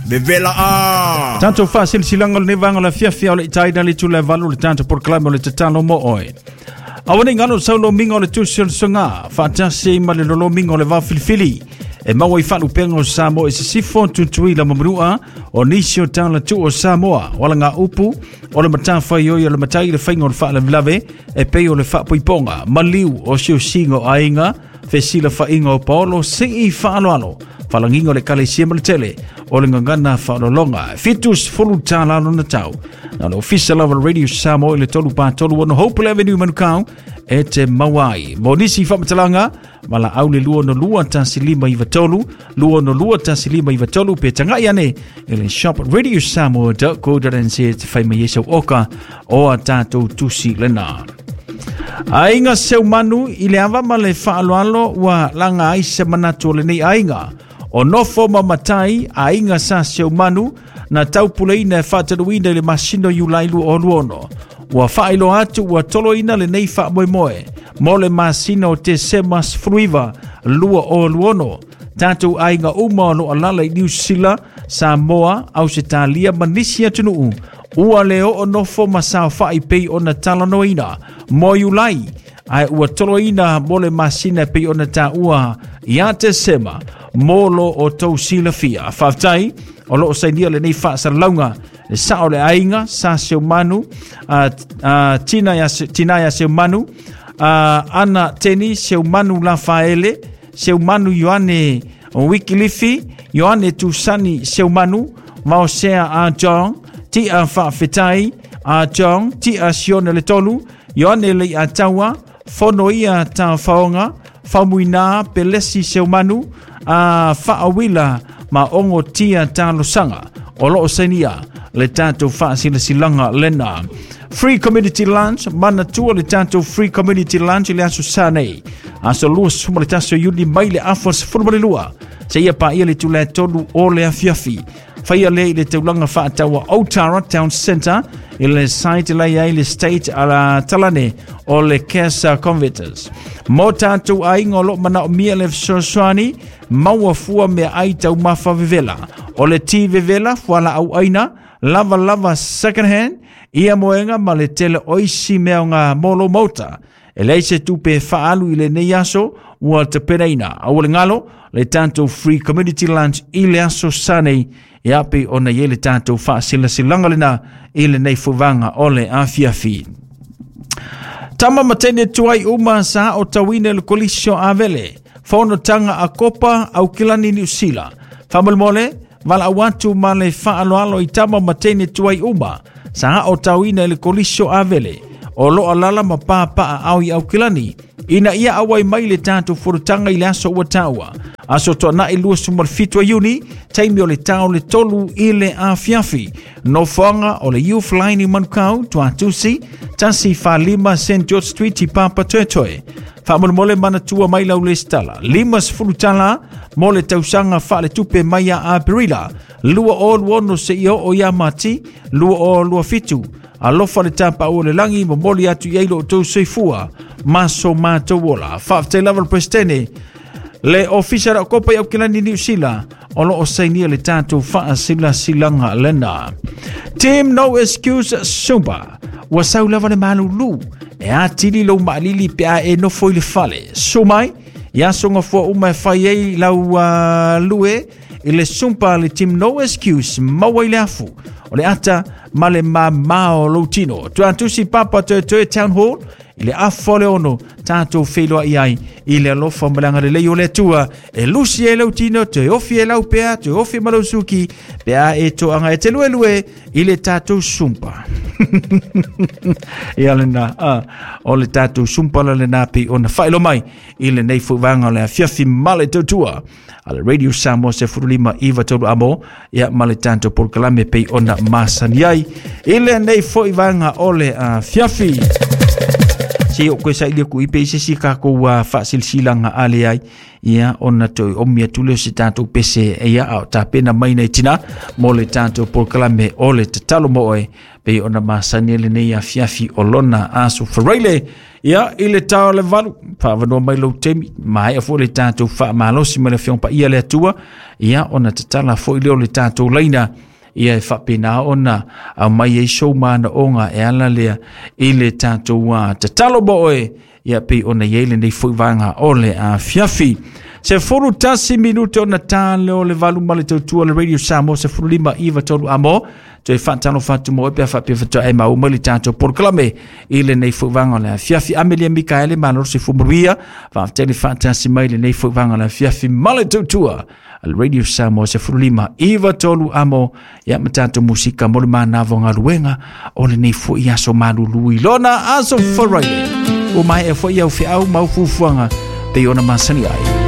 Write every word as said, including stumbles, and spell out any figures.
Vevela a. Tatou faasilasilaga o lenei vaega o le afiafi a o le i taina le itula e valu le tatou polokalame o le tatalo mo oe. Aua nei galo sau lomiga o le tusi o le soga, faatasi ai ma le lolomiga o le vaofilifili. E maua i faalupega o Samoa i sisifo, Tutuila ma Manua, o nisi o talatuu o Samoa, o alaga upu, o le matafaioi o le matai le faiga o le faalavelave, e pei o le faapoipoga, maliu o siosiga o aiga, fesilafaiga o paolo, sii faaaloalo, faalagiga o le ekalesia ma le tele, o le gagana faalologa. Fitu sefulu tālā lona tau. Na le ofisa lava le Radio Samoa i le tolu pa tolu ono Hope Avenue Manukau e te maua ai. Mo nisi faamatalaga, valaau le lua ono lua tasi lima iva tolu, lua ono lua tasi lima iva tolu, pe tagai ane i le shop radio samoa dot co dot n z e te fai mai ai sau oka o a tātou tusi lena. Aiga Seumanu i le ava ma le faaaloalo ua laga ai se manatu o lenei aiga. O nofo ma matai aiga sa Seumanu na taupuleina e faataluina i le masina o Iulai lua o lua ono. Ua faailoa atu ua toloina lenei faamoemoe mo le masina o Tesema sefulu iva lua o lua ono. Tatou aiga uma o loo alala i Niu Sila, Samoa, Ausetalia ma nisi atunuu. Ua le oo nofo ma saofai pei ona talanoaina mo Iulai, ae ua toloina mo le masina pei ona taua ia Tesema mo lo o tou silafia. Faafetai o loo sainia lenei faasalalauga le sao o le aiga sa Seumanu, a, a, Tina ia, Tina ia Seumanu, a, Ana Teni Seumanu Lafaele, Seumanu Ioane Wikilifi, Ioane Tusani Seumanu, Maosea a John, Tia Faafetai a John, Tia Sione le Tolu, Ioane Lei Ataua, Fono ia Ta Faonga, Faumuina Pelesi Seumanu, a Faawila ma Ongo Tia Talosaga. O loo sainia le tatou faasilasilaga lena. Free Community Lunch, manatua le tatou Free Community Lunch i le aso sa nei. Aso lua suma le tasi o Iuni mai le afa sefulu ma le lua. Seia paia le itula e tolu o le afiafi. Faia lea i le taulaga faataua Otara Town Centre i le site la iai le state ala talane o le Casa Converters. Mo tatou aiga o loo manaomia le fesoasoani, maua fua mea ai taumafa vevela. O le ti vevela, fuala au aina, lava lava second hand, ia moega ma le tele oisi mea o ngā molo mauta. E leai se tupe e faalu i lenei aso ua tapenaina. Aua le galo le tatou Free Community Lunch i le aso sa nei e ape ona i ai le tatou faasilasilaga lena i lenei fuvaga o le afiafi. Tama ma teine tuai uma sa o tauina le kolisio avele. Fonotaga a Kopa Aukilani Niu Sila. Faamolemole, valaau atu ma le faaaloalo i tama ma teine tuai uma sa o tauina i le kolisio avele. O loo alala ma pāpaa ao i Aukilani. Ina ia auai mai le tatou fonotaga i le aso ua taua. Aso Toanai lua suma le fitu a Iuni, taimi o le tao le tolu i le afiafi. Nofoaga o le Youth Line i Manukau, Tuatusi, tasi falima Saint George Street i Papa Toetoe. Faamolemole manatua mai lau lesitala. Lima sefulu tālā mo le tausaga faaletupe mai ia Aperila. Lua o lua ono seia oo ia Mati, lua o lua fitu. Alofa le tapaau o le lagi, momoli atu i ai lo outou soifua ma so matou ola. Faafetai lava le Presidente le Ofisa o Kopa i Aukilani Niu Sila o loo sainia le tatou faasilasilaga lena. Team No Excuse Zumba. Ua sau lava le malulu. E atili lou maalili pe a e nofo i le fale. Su mai, i aso gafua uma e fai ai lau uh, lue i le Zumba le Team No Excuse maua i le afu. O le ata ma le mamao lou tino. Tuatusi Papa Toetoe Town Hall i le afa o le ono tatou feiloai ai i le alofa ma le agalelei o le Atua e lusi ai lau tino, toe ofi e lau pea, toe ofi ma lau suki, pe a e toaga e te luelue i le tatou Zumba. Ia lena, ah, o le tatou Zumba la lena pei ona faailoa mai i lenei fuvaga o le afiafi ma le tautua a le Radio Samoa sefulu lima iva tolu amo, ia ma le tatou polokalame pei ona masani ai i lenei foi vaega o le afiafi. se o koe sa ili ku ipe se si ka ko wa fa silsilanga ale ai ia ona toe omi atu lea o se tatou pese ia a o tapena mai nei tina mo le tatou polokalame o le tatalo mo oe pei ona masani lenei afiafi o lona aso Faraile ia i le tao le valu faavanoa mai lou taimi maea foi le tatou faamalosi ma le afioga paia le Atua ia ona tatala foi lea o le tatou laina ia e faapena ona aumai ai sou manaoga e ala lea i le tatou tatalo mo oe ia pei ona iai lenei foi vaega o le afiafi. Sefulu tasi minute ona tā lea o le valu ma le tautua le Radio Samoa sefulu lima iva tolu amo toe faatalofa atu mo oe pe a faapea faatoa e maua mai le tatou polokalame i lenei foi vaega o le afiafi. Amelia Mikaele malo se fumaruia faafetai le faatasi mai lenei foi vaega o le afiafi ma le tautua le Radio Samoa sefulu lima iva tolu amo ia ma tatou musika mo le manava o galuega o lenei foi aso malulu i lona aso Faraile. Ua maea foi au feau ma au fuafuaga pei ona masani ai.